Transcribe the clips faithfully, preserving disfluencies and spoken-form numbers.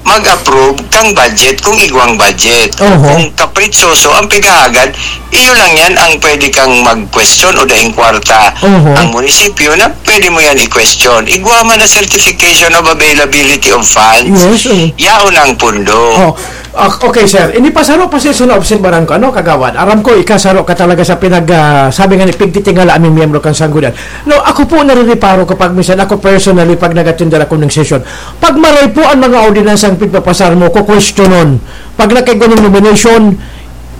mag-approve kang budget kung igwang budget. Oho. Kung kapritsoso ang pighahagad, iyo lang yan ang pwede kang mag-question o daing kwarta. Oho. Ang munisipyo na pwede mo yan i-question. Igwa man na certification of availability of funds. Yes, oo. Yaon ang pundo. Oh. Ah, okay, sir. Ini pa, saro pa, sir, sa naobserbaran ko, ano, kagawad? Aram ko, ika, saro ka talaga sa pinag, ah, sabi nga ni, pigtitingala aming miyembro kan sanggunian. No, ako po, narireparo kapag minsan ako personally, pag nag-attend ako ng session, pag maray po ang mga ordinansang pigpapasar mo, kukwestiyonon. Pag nakaigwa ng nomination,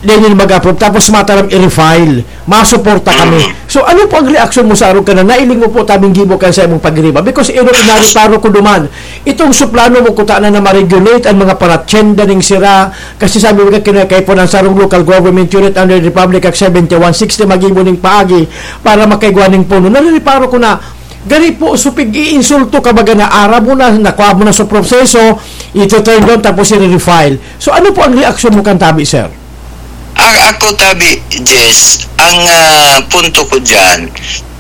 then yun mag-approve. Tapos mataram i-refile. Masuporta kami. Mm. So, ano po ang reaksyon mo sa arog ka na nailing mo po tabing gibo kan sa imong pagriba? Because ino, inariparo ko duman. Itong suplano mo kuta na na ma-regulate ang mga paratyenda ning sira. Kasi sabi mo ka, kinakaipo ng sarong local government unit under the Republic Act seventy-one sixty, magibo ning paagi para makaigwa ning pondo. Naririparo ko na, gani po, supig iinsulto ka baga na aram mo na, nakuha mo na sa proseso, ito turn down, tapos i-refile. So, ano po ang reaksyon mo kan tabi, sir? A-, ako, tabi, Jess, ang, ah, punto ko dyan,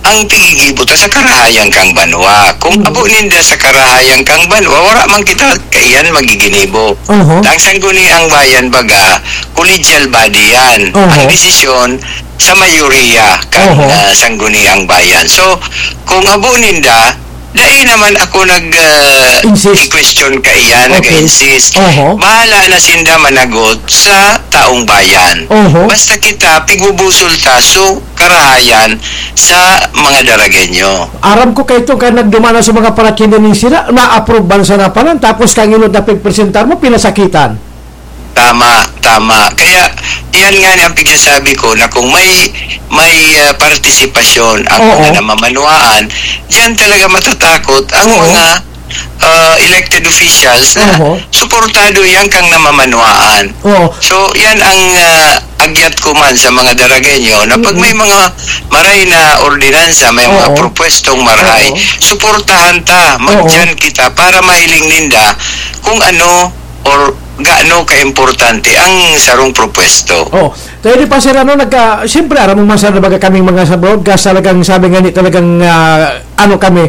ang pigigibo ta sa karahayan kang banwa. Kung Mm. abo ninda sa karahayan kang banwa, wala man kita kaiyan magiginibo. Oho. Ang sangguniang bayan, baga, collegial body yan. Oho. Ang desisyon sa mayoriya kang, Oho. ah, sangguniang bayan. So, kung abo ninda, dai naman ako nag, ah, Insist. i-question kaiyan, Okay. nag-insist. Oho. Bahala na sinda managot sa taong bayan. Oho. Basta kita, pigbubusol ta, so, karahayan sa mga Daragueño. Aram ko kaito, kan nagduman na sa mga paratyenda ning sira, na-approve man sana palan, tapos kang inot na pigpresentar mo, pinasakitan. Tama, tama. Kaya, iyan nga ni ang pigsasabi ko na kung may, may, ah, partisipasyon ang Oo. mga namamanuaan, diyan talaga matatakot ang Oo. mga, ah, elected officials na Oo. suportado yan kang namamanuaan. Oo. So, yan ang, ah, agyat ko man sa mga Daragueño na pag Mm-mm. may mga maray na ordinansa, may mga Oo. propwestong maray, Oo. suportahan ta, Oo. magdiyan kita para mahiling ninda kung ano or gaano kaimportante ang sarong propwesto. Oh, tayo di pa, sir, ano, nagka-, siyempre, aram mo man, sir, na baga kaming mga sa broadcast, talagang sabi nga ni, talagang, ah, ano kami,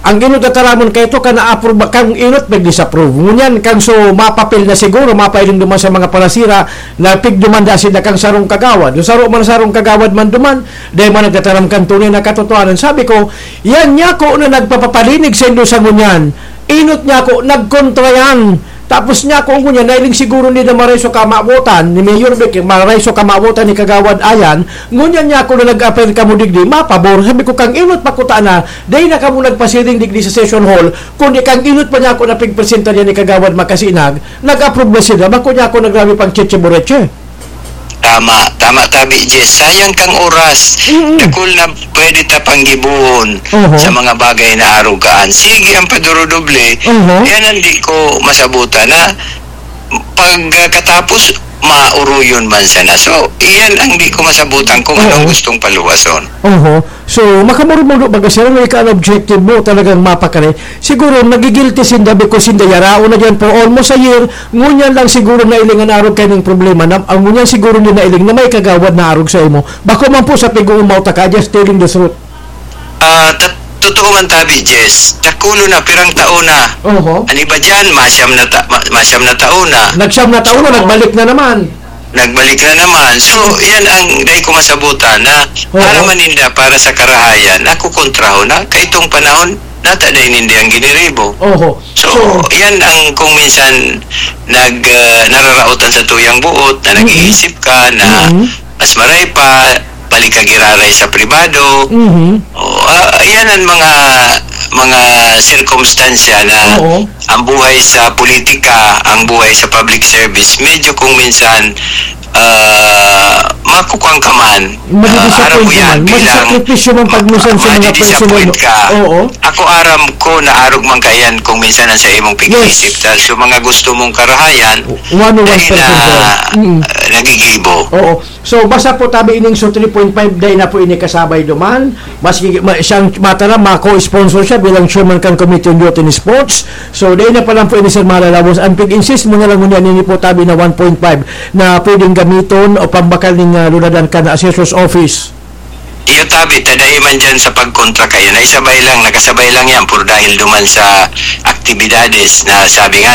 ang inot na taramon kaito, ka na-approve, kang inot, nag-disapprove. Ngunyan, kang so, mapapil na siguro, mapailing duman sa mga palasira, na pigduman da sila kang sarong kagawad. Yung saro man, sarong kagawad man duman, dahil man nagtataram kan tunay na katotohanan. Sabi ko, yan niya ko na nagpapapalinig sa indo sa ngunyan. Inot niya ko, nagkontra yan. Tapos niya, kung ngunyan, nailing siguro ni na maray so kamawotan, ni Mayor Vic, maray so kamawotan ni Kagawad Ayan, ngunyan niya ako na nag-appear kamo digdi, mapabor. Sabi ko, kang inot pa kuta na, dai na kamo nagpasiring digdi sa session hall, kundi kang inot pa niya ako na pigpresenta niya ni Kagawad Makasinag, nag-approve na sila, bako niya ako nagrabi pang cheche boreche. Tama, tama, tabi, Jess. Sayang kang oras. Mm-mm. Dakul na pwede ta panggibohon Oho. sa mga bagay na arog kaan. Sige, ang padurudoble, Oho. yan ang di ko masabutan na pagkatapos, mauruyon man sana. So, iyan ang di ko masabutan kung anong Oo. gustong paluwason. Oho. So, makamurmudo baga sila na ika ang objective mo, talagang mapakari. Siguro, nagigilty sinda because sinda yaraon na dyan for almost a year. Ngunyan lang siguro nailing an arog kaining problema. Na, ang ngunyan siguro nila nailing na may kagawad na arog sa imo. Bako man po sa pig-uumaw ta ka, just telling the truth. Ah, ta-, totoo man tabi, Jess. Dakulo na, pirang taon na. Oho. An iba dyan, masyam na ta-, ma-, masyam na taon na. Nagsiyam na taon na, So, nagbalik na naman. Nagbalik na naman. So, yan ang dai ko masabutan na Oo. para maninda, para sa karahayan, nakukontraho na. Kaitong panahon, nata dai ninda ang giniribo. Oho. So, So, yan ang kung minsan nag, ah, nararaotan sa tuyang buot na Mm-mm. nag-iisip ka na Mm-mm. mas maray pa, balik ka giraray sa pribado. Mm-hmm. O, ah, yan ang mga, mga sirkumstansya na Oo. ang buhay sa politika, ang buhay sa public service, medyo kung minsan, ah, makukuan ka man. Madidisappoint Ah, aram mo yan man. Bilang Masasakripisyo man pag minsan sa mga madidisappoint personal. ka. Oo. Ako aram ko na arog man ka yan kung minsan ang sa imong Yes. pag-iisip. Ta, so mga gusto mong karahayan, One oh one dahil na, percent, sir. Mm. ah, nagigibo. Oo. So, basta po tabi ining so three point five, dai na po ini kasabay duman. Maski ma-, siyang mataram, mako-sponsor siya bilang chairman kan Committee on Youth and Sports. So, dai na pa lang po ini, sir, malalabos. Ang pig-insist mo na lang ngunyan, ini po tabi na one point five na pwedeng gamiton o pambakal ning, ah, lunadan kan assessor's office. Iyo tabi, ta dai man dyan sa pagkontra kayo. Naisabay lang, nakasabay lang yan por dahil duman sa aktibidades na sabi nga ni,